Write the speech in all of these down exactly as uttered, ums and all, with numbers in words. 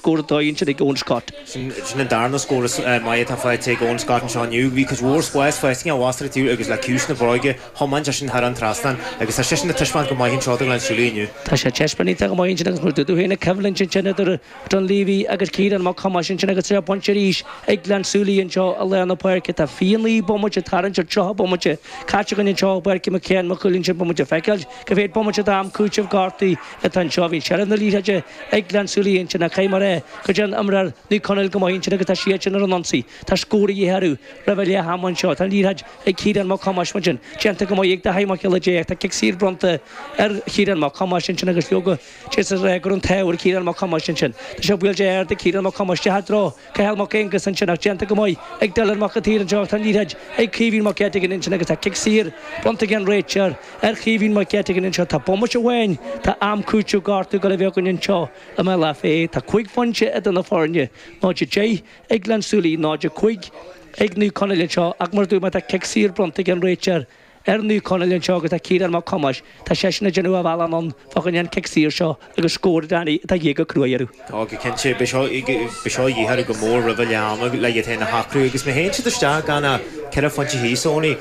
scór dóigh ansin ag Eoin Scott. Sin an darna scór is maith atá faighte ag Eoin Scott anseo inniu. Bhí cuid mhór spáis faighte aige a mhastar agus le ciumhais na bróige thiomáin sé sin thar an trasnán agus tá seisean ag taispeáint go maith anseo do Ghleann tSúilí inniu. Tá sé ag taispeáint iontach go maith ansin agus mar dúirt tú féin an choimhlint ansin idir Dunleavy agus Ciarán Mac Thomáis ansin agus sé pointe arís ag Gleann tSúilí anseo i lár na páirce. Tá fiche naoi bomaite tarraingthe ar tríocha bomaite caite againn anseo i bPáirc McCann Maigh Cuilinn ansin beidh muid ag feiceáil cá mhéad bomaite d'am cúitimh gortaithe atá anseo. Bhí seilbh na liathróide ag Gleann tSúilí ansin ach caithfidh mé a rá go dtéann imreoir Naomh Conaill go maith ansin agus tá siadsan ar an ionsaí. Tá scór a dhíth orthu roimh leath ama anseo. Tá an liathróid ag Ciarán Mac Thomáis mar sin. Déanta go maith ag Dáithí Mac Giolla Dé. Tá cic saor bronnta ar Chiarán Mac Thomáis ansin agus leoga d'fhéadfá a rá go raibh an t-ádh ar Chiarán Mac Thomáis ansin. Tá sé buailte ard ag Ciarán Mac Thomáis isteach i dtreo Cathal Mac Aonghus ansin ach déanta go maith ag Dylan Mac an tSaoir anseo. Tá an liathróid ag Caoimhín Mac Eiteagáin ansin agus tá cic saor bronnta ag an réiteoir ar Chaoimhín Mac Eiteagáin anseo. Tá bomaite amháin tá am cúiteamh gortú ag dul a bheith againn anseo i mBealach Féich. Tá cúig phointe idir na foirne, náid a deich ag Gleann tSúilí, náid a cúig ag Naomh Conaill anseo ach mar a dúirt mé tá cic saor bronnta ag an réiteoir ar Naomh Conaill anseo agus tá Ciarán Mac Thomáis, tá seisean ag déanamh a bhealach anonn fá choinne an cic saor seo agus scór Danny atá de dhíth go cruaidh orthu. Tá go cinnte, beidh seo beidh seo de dhíth orthu go mór roimh a leath ama le iad féin a shocrú agus má théann siad isteach gan ach ceithre phointe thíos, Eoiní,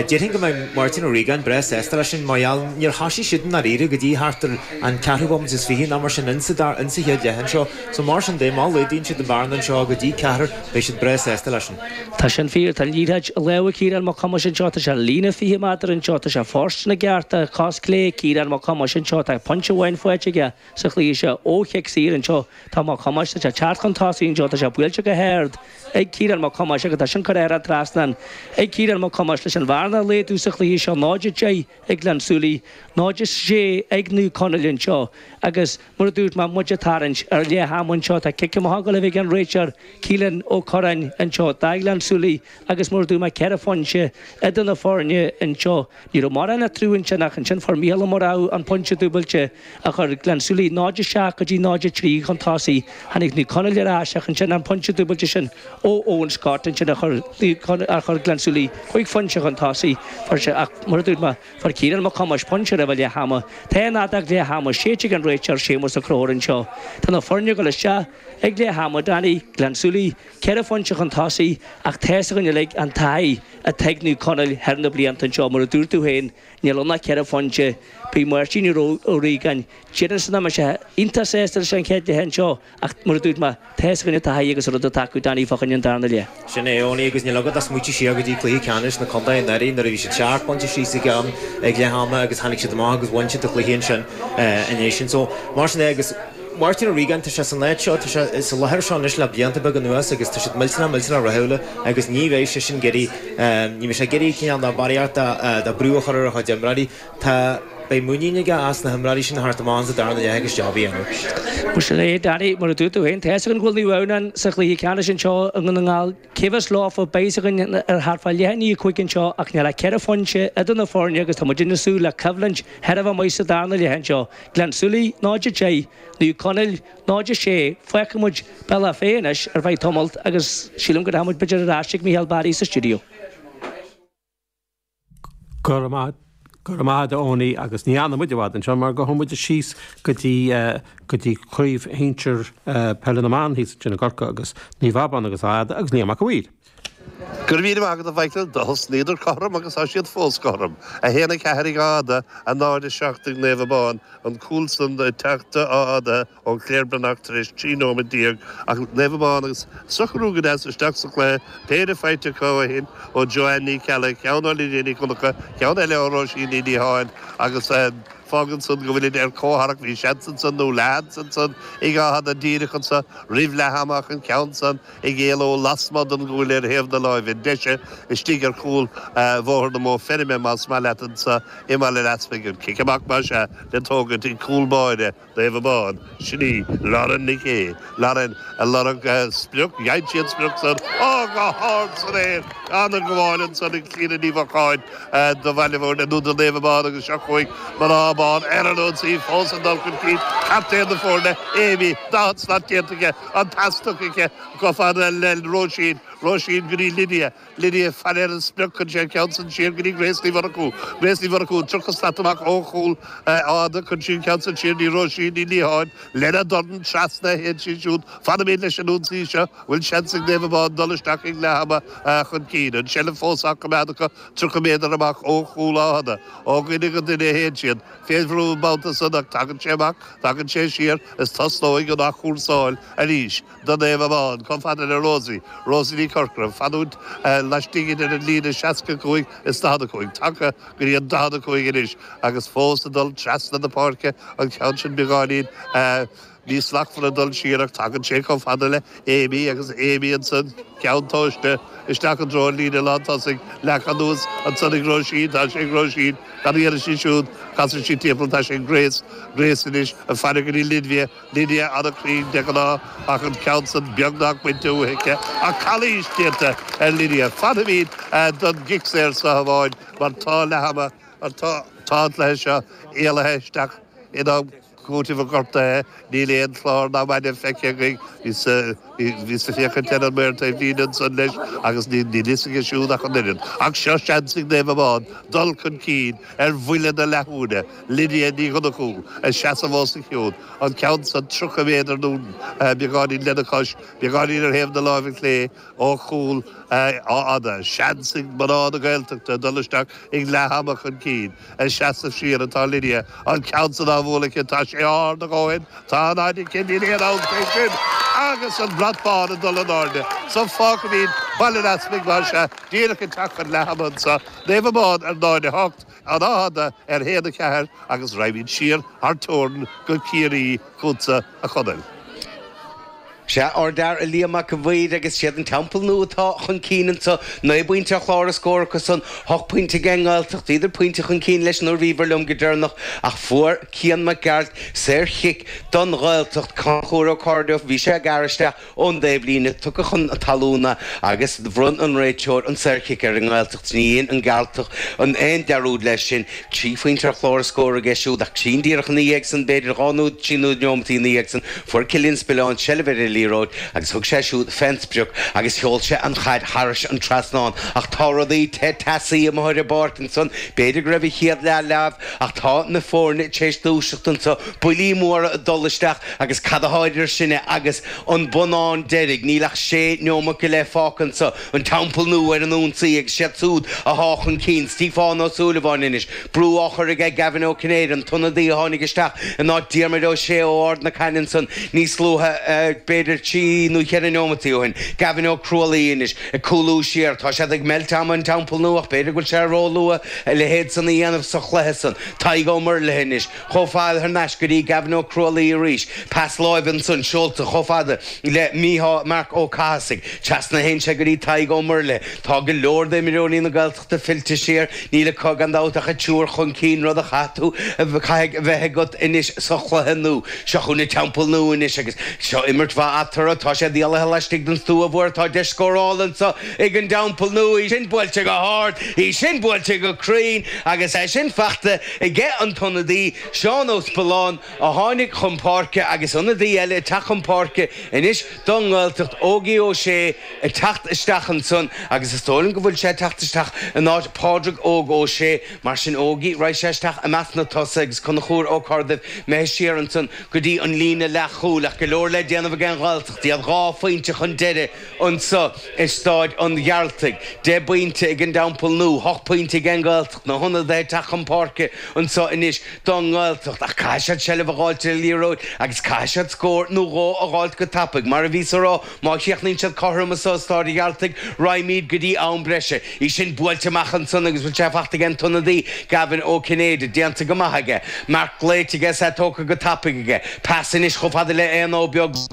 déarfainn go mbeidh Máirtín Ó Riagáin breá sásta leis sin mar gheall níor thosaigh siad i ndáiríre go dtí thart ar an ceathrú bomaite is fiche nó mar sin insa insa chéad leath anseo. So mar sin de má laghdaíonn siad an bhearna anseo go dtí ceathrar beidh siad breá sásta leis sin. Tá sin fíor, tá an liathróid i lámha Ciarán Mac Thomáis anseo, tá sé líne fiche méadar anseo, tá sé fóirsteanach i gceart, tá cos clé Ciarán Mac Thomáis anseo, tá pointe amháin faighte aige sa chluiche seo ó chic saor anseo, tá Mac Thomáis, tá sé teacht chun tosaigh anseo, tá sé buailte go hard ag Ciarán Mac Thomáis agus tá sin curtha ar an trasnán ag Ciarán Mac Thomáis leis an bhearna a laghdú sa chluiche seo, náid a deich ag Gleann tSúilí, náid a sé ag Naomh Conaill anseo agus mar a dúirt mé, muid ag tarraingt ar leath ama anseo, tá cic amach ag dul a bheith ag an réiteoir Keelan Ó Curráin anseo do Ghleann tSúilí agus mar a dúirt mé ceithre phointe idir na foirne anseo. Ní raibh mórán eatarthu ansin ach ansin fuair Mícheál Ó Murchú an pointe dúbailte a chuir Gleann tSúilí náid a seacht go dtí náid a trí chun tosaigh. Tháinig Naomh Conaill ar ais ach ansin an pointe dúbailte sin ó Eoin Scott ansin a chuir a chuir Gleann tSúilí cúig phointe chun tosaigh. Fuair sé ach mar a dúirt mé fuair Ciarán Mac Thomáis pointe roimh leath ama. Tá an fheadóg leath ama séidte ag an réiteoir Séamus Ó Conchúir anseo. Tá na foirne ag dul isteach ag leath ama Danny Gleann tSúilí ceithre phointe chun tosaigh ach tá a fhios againn uilig an taithí atá ag Naomh Conaill thar na blianta anseo mar a dúirt tú féin níl ann ach ceithre phointe. Beidh Máirtín Ó Riagáin déarfainn nach mbeidh sé iontach sásta leis an chéad leath anseo ach mar a dúirt mé tá a fhios againn an taithí agus an rud atá acu Danny fá choinne an darna leath. Sin é, Eoiní, agus níl agat ach smaoitiú siar go dtí cluiche ceannais na contae anuraidh nuair a bhí siad seacht bpointe síos ag am ag leath ama agus tháinig siad amach agus bhain siad an cluiche ansin ina dhiaidh sin. So mar sin é agus Máirtín Ó Riagáin, tá sé san áit seo, tá sé sa láthair seo anois le blianta beaga anuas agus tá siad millteanach millteanach rathúil agus ní bheidh sé sin ag iarraidh, ní bheidh sé ag iarraidh cineál ná barraíocht de brú a chur ar a chuid imreoirí. Tá, beidh muinín aige as na himreoirí sin a theacht amach sa darna leath agus job a dhéanamh. Bhuel sin é, Danny, mar a dúirt tú féin, tá a fhios againn go bhfuil Naomh Adhamhnáin sa chluiche ceannais anseo i nDún na nGall. Cé bheas leofa, beidh a fhios againn ar thart fá leath i ndiaidh a cúig anseo ach níl ach ceithre phointe idir na foirne agus tá muid ag súil le coimhlint thar a bheith maith sa darna leath anseo. Gleann tSúilí, náid a deich, Naomh Conaill, náid a sé. Fágfaidh muid Bealach Féich anois ar feadh tamalt agus sílim go rachaidh muid b'fhéidir ar ais ag Micheál Barry sa stiúideo. Go raibh maith Go raibh maith agat a Eoiní agus ní fhanfaidh muid i bhfad anseo mar gabhfaidh muid síos go dtí go dtí craobh shinsir peile na mban thíos ansin i gCorcaigh agus Naomh Abán agus Áth Fhada agus Liam Mac a' Mhaoir. Go raibh míle maith agat a Mhichael, do thosnaíodar cothrom agus tá siad fós cothrom. A haon a ceathair ag Áth Fhada, a náid a seacht ag Naomh Abán, an cúl san ag teacht do Áth Fhada ó Claire Breathnach tar éis trí nóiméad déag ach Naomh Abán ag socrú go deas isteach sa chluiche, péire faighte acu ó shin ó Joanne Ní Cheallaigh, ceann ó Lydia Ní Dhonncha, ceann eile ó Róisín Ní Liatháin agus fágann san go bhfuilid ar comhtharrac, bhí seans ansan nó leathsheans ansan ag Áth Fhada díreach anso roimh leath ama ach an ceann san ag éaló lasmuigh den gcuaille ar thaobh na láimhe deise istigh ar chúl Bhóthar na Mó Feirme, más maith leat, anso i mBaile an Easpaig. An cic amach, más ea, le tógaint ag cúl báire Naomh Abán. Sin í Lauren Nic Aoidh. Lauren ag lorg sprioc. Gheibh sí an sprioc san. Ó, go hard san aer! Ana-ghabháil ansan ag Clíona Ní Mhocháin do Bhaile Bhúirne, nó do Naomh Abán agus seo chugainn mná Abán ar an ionsaí fós ag dul chun cinn captaen na foirne Amy daichead slat déanta aici an pas tugtha aici chomh fada le Róisín Róisín go dtí Lydia Lydia fan ar an sprioc chun sé ceann san siar go dtí Grace Ní Mhurchú Grace Ní Mhurchú tríocha slat amach ó chúl Fhátha chun sí ceann san siar dtí Róisín Ní Liatháin lena dorn trasna théann sí siúd fanaimid leis an ionsaí seo bhfuil seans ag Naomh Abán dul isteach ag leath ama chun cinn an seilbh fós á coimeád acu tríocha méadar amach ó chúl Fhátha ó dhuine go duine a théann siad fé bhrú an babhta san ach tagann sé amach tagann sé siar is tosnóidh an athchúrsáil arís do Naomh Abán chomh fada le Rosie Rosie Ní Chorcora fanúint laistigh idir an líne seasca cúig is daichead a cúig tagtha go dtí an daichead a cúig anois agus fós ag dul trasna na páirce an ceann sin beagáinín níos slachtmhaire dul siar ach tagann sé chomh fada le Amy agus Amy ansan ceann tomhaiste isteach i dtreo an líne lántosaigh leagtha anuas ansan ag Róisín tá sé ag Róisín cad a dhéanfaidh sí siúd casann sí timpeall tá sé ag Grace Grace anois ag faire go dtí Lydia Lydia an-chruinn de ghnáth ach an ceann san beagnach bainte uaithi ach calaois déanta ar Lydia Fanfaimid don gcic saor seo amháin mar tá leath ama mar tá tá an cluiche seo éalaithe isteach in am cúitimh an ghortaithe níl aon chlár ná maide feicthe againn bhíos ag féachaint ar an maor taobh líne ansan leis agus níl fhios aige siúd ach an oiread. Ach seo seans ag Naomh Abán dul chun cinn ar bhuille na leathuaire, Lydia Ní Dhonnchú ag seasamh os a chionn, an ceann san tríocha méadar nó beagáinín lena cois, beagáinín ar thaobh na láimhe clé ó chúl Fhátha. Seans ag mná na Gaeltachta dul isteach ag leath ama chun cinn. Ag seasamh siar atá Lydia, an ceann san á bhualadh aici, tá sé ard a dhóthain, tá an fhaid aici, níl aon amhras faoi sin agus an brat bán ag dul in airde. So fágfaimid Baile an Easmaig mar sea, díreach ag teacht chun leath ama anseo, Naomh Abán ar náid a hocht, an Áth Fhada ar haon a ceathair agus raghaimid siar thar teorainn go Ciarraí chugatsa a Chonaill. Sea, ardfhear a Liam Mac an Mhaoir agus siad an Teampall Nua atá chun cinn anseo. Naoi bpointe ar chlár a scór acu san, hocht pointe ag an nGaeltacht. Bhíodar pointe chun cinn leis nuair a bhíobhair liom go deireanach ach fuair Cian Mac Gearailt saorchic don Ghaeltacht. Conchúr Ó Cairdeof, bhí sé ag gearradh isteach ón dtaobhlíne, tugtha chun talún é agus bhronn an réiteoir an saorchic ar an nGaeltacht. Ní dhein an Gearaltach an aon dearúd leis sin. Trí phointe ar chlár a scór aige siúd ach trín díreach ina dhiaidh san, b'fhéidir dhá nó trí neomat ina dhiaidh san, fuair Cillian Spillane seilbh ar an liathróid agus thug sé siúd fén sprioc agus sheol sé an chaid thairis an trasnán. Ach tá rudaí te teasaí amuigh ar an bpáirc ansan. B'fhéidir go raibh an chéad leath leamh ach tá na foirne tar éis dúiseacht anso, buillí móra ag dul isteach agus cad atá idir sinne agus an bonnán deiridh? Níl ach sé neomat go leith fágtha anso. An Teampall Nua ar an ionsaí agus siad súd athá chun cinn. Stiofán Ó Súilleabháin anois. Brú á chur aige Gavin Ó Cinnéide, an t-ionadaí a tháinig isteach in áit Diarmuid Ó Sé ó Ard na Caithne ansan níos luaithe, b'fhéidir trí nó cheithre neomataí ó shin. Gavin Ó Crualaoi anois ag cúlú siar. Tá siad ag meilt ama an Teampall Nua ach b'fhéidir go bhfuil sé róluath a leithéid san a dhéanamh sa chluiche san. Tadhg Ó Muirthile anois chomh fada thar n-ais go dtí Gavin Ó Crualaoi arís. Pas láimhe ansan seolta chomh fada le Mícheál Marc Ó Cathasaigh. Trasna a théann sé go dtí Tadhg Ó Muirthile. Tá go leor d'imreoirí na Gaeltachta fillte siar. Níl acu gan dabht ach an triúr chun cinn, rud a chaithfidh tú, caithfidh a bheith agat anois sa chluiche nua. Seo chugainn an Teampall Nua anois agus seo imirt mhaith eatarthu. Tá siad éalaithe laistigh den stua mhór. Tá deis scórála anseo ag an dTeampall Nua. Í sin buailte go hard, í sin buailte go cruinn agus é sin faighte aige an t-ionadaí, Seán Ó Spealáin, a tháinig chun páirce agus ionadaí eile ag teacht chun páirce anois don nGaeltacht, Ógie Ó Sé ag teacht isteach ansan agus is dóigh liom go bhfuil sé ag teacht isteach in áit Pádraig Óg Ó Sé. Mar sin Ógie, raghaidh sé isteach i measc na tosaithe agus Conchúr Ó Corrduibh imithe siar ansan go dtí an líne leathchúil ach go leor le déanamh ag an Ghaeltacht. Iad dhá phointe chun deiridh anso i Stáid an Ghearaltaigh. Deich bpointe ag an dTeampall Nua, hocht bpointe ag an nGaeltacht. Na hionadaithe ag teacht chun páirce anso anois don nGaeltacht ach caithfidh siad seilbh a dh'fháilt ar an liathróid agus caithfidh siad scór nó dhó a dh'fháilt go tapaidh. Mar a bhíos a rá, má chríochnaíonn siad cothrom anso i Stáid an Ghearaltaigh, raghaimid go dtí am breise. Í sin buailte amach ansan agus bhfuil sé faighte ag an t-ionadaí, Gavin Ó Cinnéide. Déanta go maith aige. Marc glaoite aige is é tógtha go tapaidh aige. Pas anois chomh fada le Éanna Ó Beaglaoich.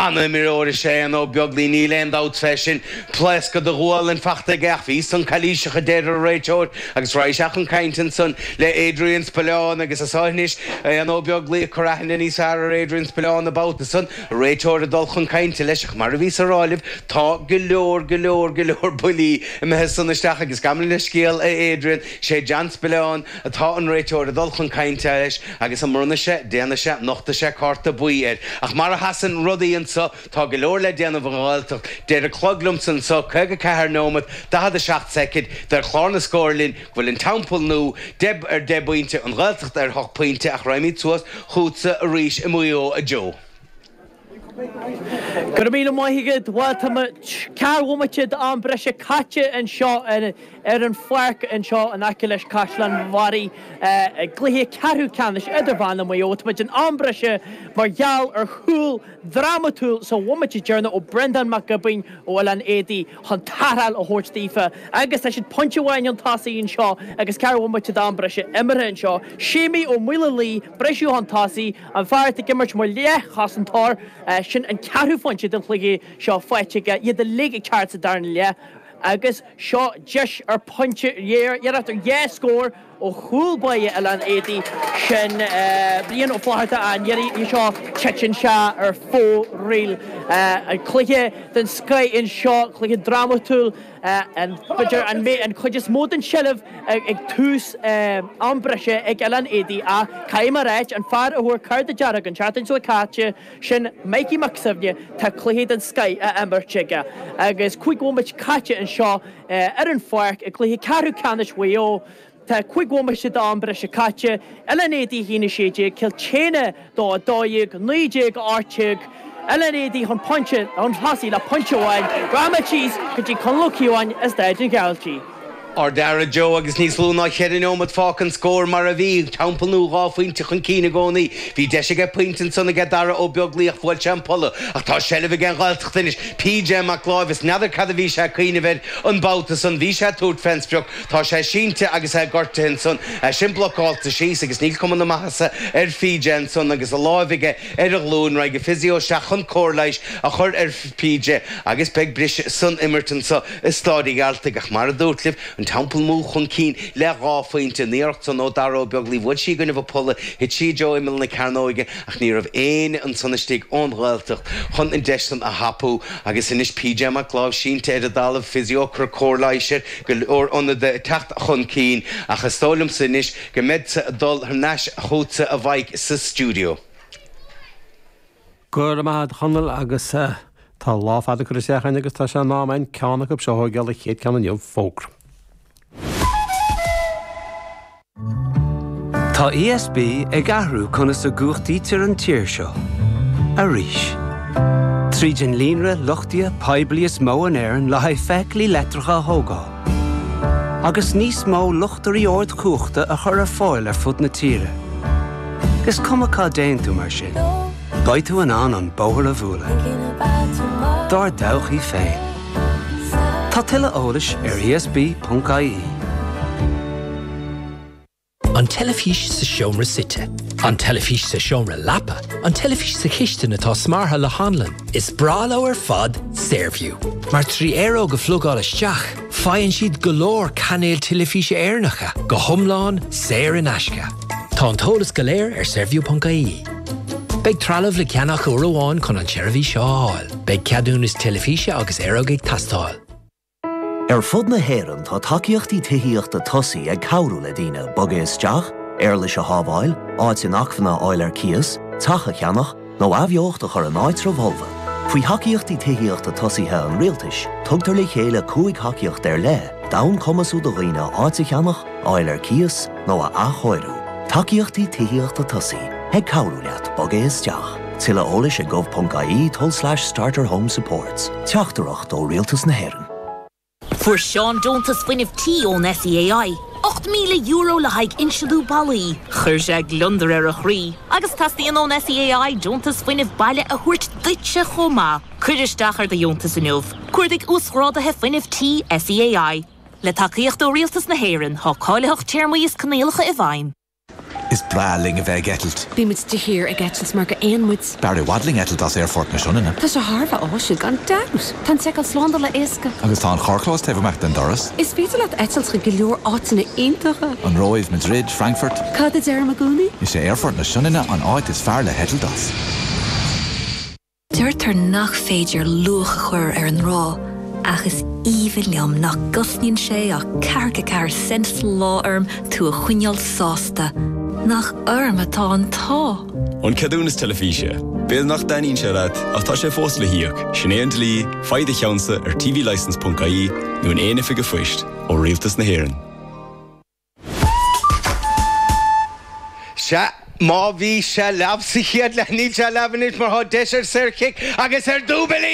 An-imreoir is ea Éanna Ó Beaglaoi, níl aon dabht fé sin. Pléascadh de ghualainn fachta aige ach bhí san calaoiseach a deir an réiteoir agus raghaidh sé chun cainte ansan le Adrian Spillane agus is ea anois Éanna Ó Beaglaoi ag cur aithne níos fearr ar Adrian Spillane an babhta san, an réiteoir ag dul chun cainte leis ach mar a bhíos a rá libh tá go leor, go leor, go leor buillí imithe san isteach agus gabh mo leithscéal a Adrian, sé John Spillane atá an réiteoir ag dul chun cainte leis agus an mbronnfaidh sé, déanfaidh sé, nochtfaidh sé cárta buí air. Ach mar a sheasann rudaí anso, tá go leor le déanamh ag an Ghaeltacht. Deir an clog liomsa anso, caoga ceathair nóimeat, daichead a seacht soicind, deir clár na scór linn go bhfuil an Teampall Nua deich ar deich bpointe, an Ghaeltacht ar hocht pointe ach raghaimid suas chugatsa arís i Maigh Eo, a Joe. Go raibh míle maith agat. Bhuel, tá ceathrú bhomaite d'am breise caite anseo ar an pháirc anseo in aice leis Caisleán Bharraigh i gcluiche ceathrú ceannais idirmheánach Mhaigh Eo. Táimid in am breise mar gheall ar chúl drámatúil sa bhomaite deireanach ó Breandán Mac Giobúin ó Oileán Éadaí chun tarrtháil a thabhairt daofa agus tá siad pointe amháin chun tosaigh anseo agus ceathrú bhomaite d'am breise imeartha anseo. Séimí Ó Maolaodha, briseadh chun tosaigh, an fear atá ag imirt mar leathchosantóir, sin an ceathrú phointe den chluiche seo faighte aige, iad uilig ag teacht sa darna leath agus seo deis ar phointe, iarracht ar dhá scór ó chúl báire Oileán Éadaí, sin Brian Ó Flatharta an iarraidh seo, titeann sé ar fóraoil. An cluiche den scoith anseo, cluiche drámatúil. B'fhéidir an an chuid is mó den tseilbh ag tús am breise ag Oileán Éadaí ach caithfidh mé a ráit, an fear a fuair cárta dearg an tseachtain seo caite, sin Mikey Mac Suibhne, tá cluiche den scoith á imirt aige agus cúig bhomaite caite anseo ar an pháirc i gcluiche ceathrú ceannais Mhaigh Eo. Tá cúig bhomaite d'am breise caite, Oileán Éadaí a haon a sé déag, Cill tSéadhna dó a dó dhéag, naoi déag a ocht déag, Oileán Éadaí chun pointe, chun tosaigh le pointe amháin, rachaimid síos go dtí Conall Ó Cíobháin i Staid an Ghearaltaigh. Ard-fhear a Joe agus níos lú ná cheithre neomat fágtha an scór mar a bhí, Teampall Nua dhá phointe chun cinn i gcónaí. Bhí deis aige pointe ansan aige Dara Ó Beaglaoich ach bhuail sé an polla ach tá seilbh ag an Ghaeltacht anois. PJ Mac Láimh is n'fheadar cad a bhí sé ag cuimhneamh air an babhta san. Bhí sé ag tabhairt fén sprioc. Tá sé sínte agus é gortaithe ansan. É sin blocáilte síos agus níl cuma na maitheasa ar PJ ansan agus a láimh aige ar a ghlúin. Raghaidh an physio isteach chun cóir leighis a chur ar PJ agus beidh briseadh san imirt anso i Stáid an Ghearaltaigh. Ach mar a dúrt libh, an Teampall Nua chun cinn le dhá phointe. An iarracht san ó Dara Ó Beaglaoich, bhuail sí i gcoinnibh an pholla, thit sí i dtreo imeall na cearnóige ach ní raibh éinne ansan istigh ón Ghaeltacht chun an deis san a thapú. Agus anois PJ Mac Láimh sínte ar an dtalamh, physio ag cur cóir leighis air, go leor ionadaithe ag teacht chun cinn ach is dóigh liomsa anois go mbeadsa ag dul thar n-ais chugatsa a Mhaidhc sa stiúideo. Go raibh maith agat a Chonaill agus tá lá fada curtha isteach againn agus tá sé in am againn ceann acu seo a thógáil, an chéad ceann inniu, fógra. Tá ESB ag athrú conas a gcumhachtaítear an tír seo. Arís. Tríd an líonra luchtaithe poiblí is mó in Éirinn le haghaidh feithiclí leictreacha a thógáil. Agus níos mó luchtairí ardchumhachta a chur ar fáil ar fud na tíre. Is cuma cá dtéann tú mar sin. Beidh tú in ann an bóthar a bhualadh. Dár dtodhchaí féin. Tá tuilleadh eolais ar ESB.ie. An teilifís sa seomra suite. An teilifís sa seomra leapa, an teilifís sa chistin atá smeartha le hanlann. Is breá leo ar fad Saorview. Mar trí aeróg a phlugáil isteach, faigheann siad go leor cainéil teilifíse Éireannacha, go hiomlán saor in aisce. Tá an t-eolas go léir ar saorview.ie. Beidh trealamh le ceannach uair amháin chun an tseirbhís seo a fháil. Beidh ceadúnas teilifíse agus aeróg ag teastáil. Ar fud na hÉireann tá tacaíochtaí tithíochta tosaigh ag cabhrú le daoine bogadh isteach, éarlais a shábháil, áit inacmhainne a fháil ar cíos, teach a cheannach, nó athbheocht a chur in áitreabh folmha. Faoi thacaíochtaí tithíochta tosaithe an rialtais, tugtar le chéile cúig thacaíocht ar leith d'fhonn cumasú do dhaoine áit a cheannach, a fháil ar cíos nó a athchóiriú. Tacaíochtaí tithíochta tosaigh ag cabhrú leat bogadh isteach. Tuilleadh eolais ag gov.ie tulslais starter home supports. Teachtaireacht ó Rialtas na hÉireann. Fuair Seán deontas fuinnimh tí ón SEAI. Ocht míle euro le haghaidh insealú ballaí. Chuir sé gliondar ar a chroí, agus teastaíonn ón SEAI deontas fuinnimh baile a thabhairt duitse chomh maith. Cuir isteach ar do dheontas inniu. Cuardaigh uasghráduithe fuinnimh tí SEAI. Le tacaíocht ó Rialtas na hÉireann, tá cáilitheacht téarmaí is coinníollacha i bhfeidhm. Is breá linn a bheith ag eitilt. Bímid de shíor ag eitilt mar gur éin muid. B'fhearr i bhfad linn eitilt as Aerfort na Sionainne. Tá sé thar a bheith áisiúil gan dabht. Tá an tseiceáil slándála éasca. Agus tá an carrchlós taobh amach den doras. Is féidir leat eitilt chuig go leor áiteanna iontacha. An Róimh, Madrid, Frankfurt. Cad a deirim i gcónaí? Is é Aerfort na Sionainne an áit is fearr le heitilt as. Deirtear nach féidir luach a chur ar an ngrá, ach is aoibhinn liom nach gcosnaíonn sé ach ceathracha ceathair cent sa lá orm tú a choinneáil sásta. Nach orm atá an t-ádh. An ceadúnas teilifíse. B'fhéidir nach dtaitníonn sé leat ach tá sé fós le híoc, sin é an dlí, faigh do cheannsa ar tvlicence.ie nó in aon oifig an phoist ó Rialtas na hÉireann. Sea, má bhí sé leamh sa chéad leath níl sé leamh anois mar tá deis ar saorchic agus ar dúbailí!